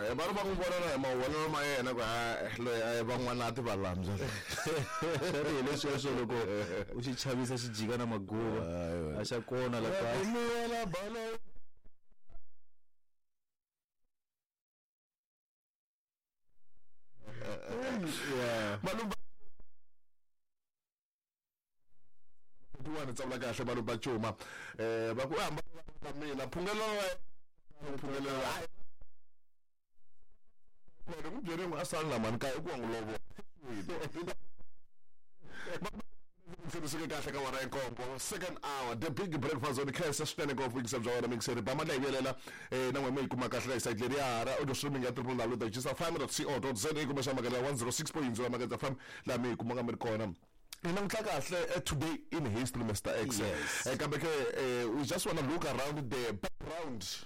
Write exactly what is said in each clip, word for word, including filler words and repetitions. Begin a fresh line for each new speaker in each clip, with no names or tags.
Va ri va n'wi vona na hi mavonelo ma yena ku loyi a van'wana a ti va lambya.
Swi ri hi leswiya loko u xi chavisa xi jika na maguva a xa kona la ka.
Yeah. Malumba tsavula kahle Malumba Cuma eh va ku hamba mina phungelo phungelo loko ku byeriwa a sala mani ka ku n'wi lovo se kahle ka wara enkombo second hour the big breakfast on K S swinene ngopfu yingisa bya wena mixeri ba mandla hi vuyelela eh na n'we mi yi kuma kahle ka site leri ya ra audio streaming ya triple w dot gisa fm dot co dot za kumbe xa makela one oh six point zero Makete F M laha mi yi kumaka mi ri kona. Namhla kahle today in history Mister X.
Yes.
Kambe ke we just want to look around the background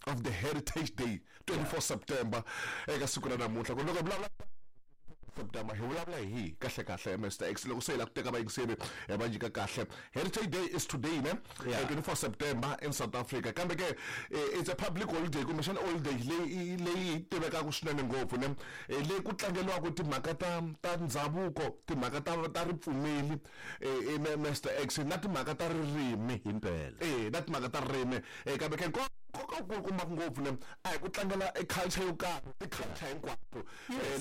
of the Heritage Day twenty-fourth September eka siku ra namuntlha ku loko vulavula September hi vulavula hi kahle kahle Mister X loko se hi la ku teka vayingiseri va nyika kahle Heritage Day is today ne twenty-fourth September in South Africa kambe ke it's a public holiday kumbe xana holiday leyi leyi tivekaka swinene ngopfu ne leyi ku tlangeliwaka timhaka ta ta ndhavuko timhaka ta ta ripfumeli Mister X na timhaka ta ririmi
himpela
eh na timhaka ta ririmi kambe ke nkoka wu kuma ngopfu ne a hi ku tlangela e culture yo karhi ti culture hinkwato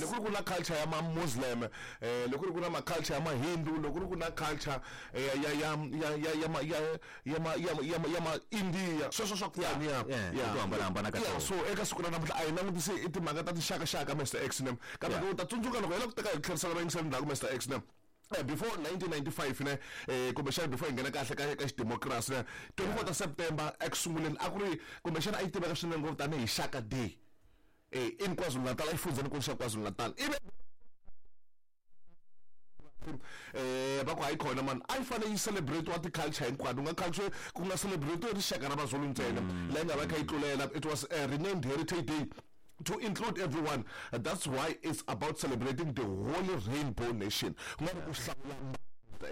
loko ku ri ku na culture ya ma Muslim eh loko ku ri ku na ma culture ya ma Hindu loko ku ri ku na culture ya ya ya ya ya ya ya ma ya ya ya ma India sweswo swa ku ya
ya ku hambana hambana ka
so eka siku ra namuntlha a hi langutisi i timhaka ta tinxaka xaka Mister X ne kambe u ta tsundzuka loko hi la ku teka hi tlherisela vayingiseri ndzhaku Mister X ne before nineteen ninety-five ne eh kumbexana before hi nghena kahle ka ka xidemokirasi ne twenty-fourth September eku sunguleni a ku ri kumbexana a yi tiveka swinene ngopfu tanihi Shaka Day eh in KwaZulu-Natal a yi fundzeni xa KwaZulu-Natal ivi eh va ku hayi khona man a yi fanele yi celebrate wa ti-culture hinkwato nga culture ku nga celebrate rixaka ra Mazulu ntsena leyi nga va kha yi tlulela it was a renamed Heritage Day to include everyone. That's why it's about celebrating the holy rainbow nation. Ku nga ri ku hlawula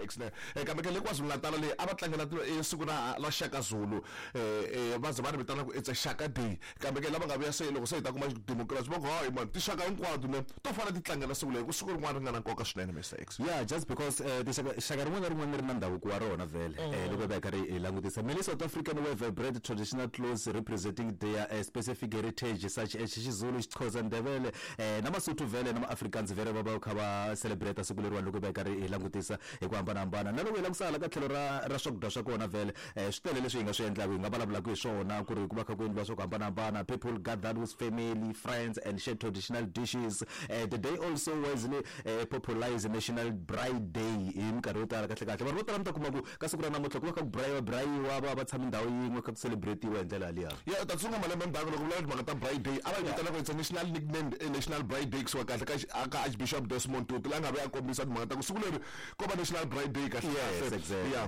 X ne kambe ke le KwaZulu-Natal leyi a va tlangela siku ra ra Shaka Zulu eh va ze va ri vitana ku it's a Shaka Day kambe ke lava nga vuya se loko se hi ta kuma democracy va ku hayi man tixaka hinkwato ne to fana ti tlangela siku leri ku siku rin'wana ri nga na nkoka swinene Mister X.
Yeah, just because tixaka xaka rin'wana na rin'wana ri na ndhavuko wa rona vhele eh loko va karhi hi langutisa many South African wear vibrant traditional clothes representing their uh, specific heritage such as Xizulu, Xhosa, Ndebele eh na Masotho vhele na Afrikaans vhele va va kha va celebrate siku leriwani loko va karhi hi langutisa hi ku hambana hambana na loko hi langusala ka tlhelo ra ra swakudya swa kona vhele eh swi tele leswi hi nga swi endlaka hi nga vulavulaka hi swona ku ri ku va kha ku endliwa swa ku hambana hambana people gathered with family friends and share traditional dishes. uh, the day also wisely uh, popularized National Braai Day hi minkarhi yo tala kahle kahle vanhu vo tala mi ta kuma ku ka siku ra namuntlha ku va kha ku brayiwa brayiwa va va tshama ndhawu yin'we kha ku celebrate-iwa hi ndlela liya
ya ta tsunga malembe ndzhaku loko vulavula timhaka ta Braai Day a va yi vitana ku it's a national nicknamed National Braai Day kusuka kahle ka ka Archbishop Desmond Tutu la nga ve a kombisa timhaka ta ku siku leri ko va National Braai Day kahle
Yes, exactly.
Yeah.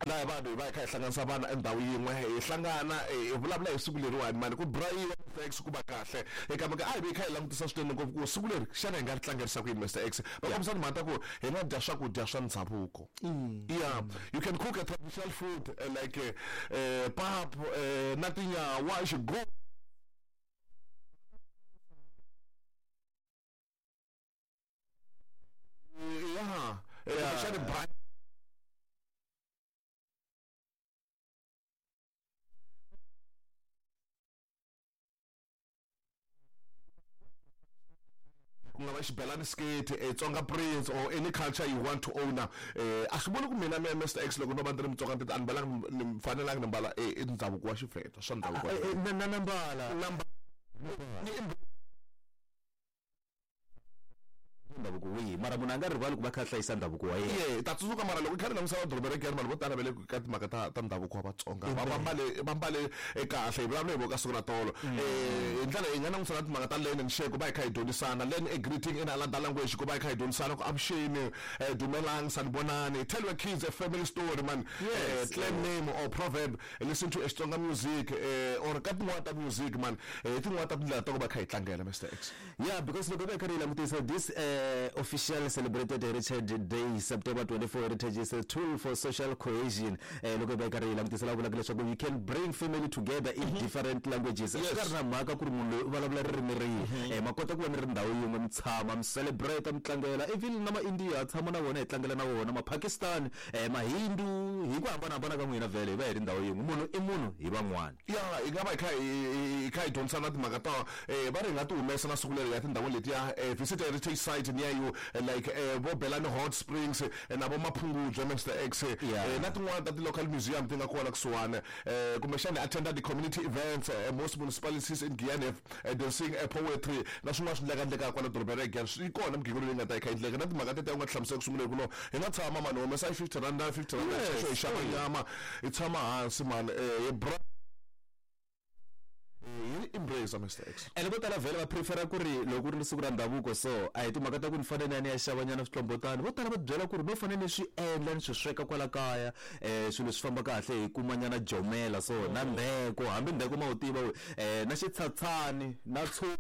Laha vanhu hi va hi kha hi hlanganisa vana endhawu yin'we hi hlangana hi vulavula hi siku leriwani mani ku brayiwa Mister X ku va kahle kambe a hi vi hi kha hi langutisa swinene ngopfu ku siku leri xana hi nga ri tlangerisa ku yini Mister X va kombisa timhaka ta ku hi nga dya swakudya swa ndhavuko yeah you can cook a traditional food uh, like uh, pap uh, na tinyawa xigugu yeah yeah braai ku nga va xibelani skate eh, Tsonga Prince or any culture you want to own eh a swi vuli ku mina me Mister X loko no va ndzi ri Mutsonga ndzi a ni mbalanga ni fanelanga ni mbala eh ndhavuko wa Xivhenda swa ndhavuko
na na na mbala
na
ndhavuko wihi mara munhu a nga rivali ku va kha hlayisa ndhavuko wa yena
ye ta tsundzuka mara loko kha ri langusela doroba ra Giyani vanhu vo tala va le ka timhaka ta ta ndhavuko wa Vatsonga va va mbale va mbale kahle hi vulavula hi vo ka siku ra tolo eh hi ndlela hi nga langusela timhaka ta learn and share ku va hi kha hi dyondzisana learn a greeting in another language ku va hi kha hi dyondzisana ku avuxeni dumelang sanibonani tell your kids a family story man
Yes,
clan name or proverb listen to Xitsonga music or ka tin'wana ta music man hi tin'wana ta tindlela ta ku va kha hi tlangela Mister X.
Yeah, because loko va kha ri langutisa this uh, uh, official celebrated Heritage Day September twenty-four. Heritage is a tool for social cohesion. Eh, loko hi va hi karhi hi langutisa la vulaka leswaku you can bring family together in different languages. Swi nga ri na mhaka ku ri munhu loyi u vulavula ririmi rihi, eh, ma kota ku va mi ri ndhawu yin'we, mi tshama mi celebrate, mi tlangela. Even na ma-India tshama na vona, hi tlangela na vona, ma-Pakistan, eh, mahindu, hi ku hambanahambana ka n'wina, vhele hi va hi ri ndhawu yin'we. Munhu i munhu hi van'wana.
Ya, hi nga va hi kha hi hi kha hi dyondzisa na timhaka ta eh va ri hi nga ti humesa na siku leri ya tindhawu letiya, eh, visit heritage site near you, eh, like eh, vo Belani Hot Springs, eh, na vo Maphungubye, Mister X, eh,
Yeah.
eh, na tin'wana ta ti-local museum ti nga kona kusuhani, eh, kumbexana attenda the community events. eh, most municipalities in Giyani have eh, dancing, eh, poetry na swin'wana swi endleka endlekaka kwala dorobeni ra Giyani. Swi kona migingiriko leyi nga ta yi kha yi endleka na timhaka tete u nga ti hlamusela ku sunguleni ku no hi nga tshama mani, humesa fifty rand, fifty rand,
Yes.
xexo hi xava nyama, hi tshama hansi mani, eh, hi bra hi embrace, Mister X.
Ene vo tala vhele va prefera ku ri loko ku ri siku ra ndhavuko, so a hi timhaka ta ku ni fanele ni ya ni ya xava nyana switlombotani. Vo tala va byela ku ri no fanele ni swi endla, ni swi sweka kwala kaya, um swilo swi famba kahle, hi kuma nyana jomela so na ndheko, hambi ndheko ma wu tiva we, um na xitshatshani na tshu.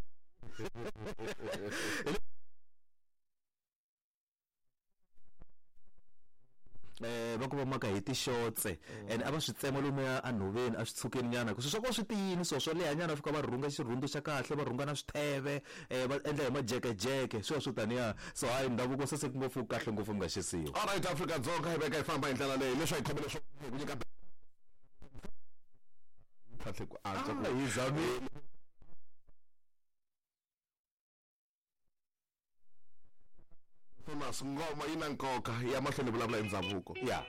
eh va ku va maka hi tixotse and a va swi tsema lomuya enhoveni, a swi tshukeni nyana, ku swi swa ko swi tiyini, so swo leha nyana, fika va rhunga xirhundu xa kahle, va rhunga na switheve, eh va endla hi majekejeke, swilo swo taniya. So hayi, ndhavuko saseke ngopfu, kahle ngopfu, mi nga xisiwa.
Alright, Afrika Dzonga, hi veka hi famba hi ndlela leyi leswi a hi khomele swo hi ku nyika kahle ku antswa ku
hi zamile.
Thomas, ngoma yi na nkoka ya mahlweni, vulavula hi ndhavuko.
Ya.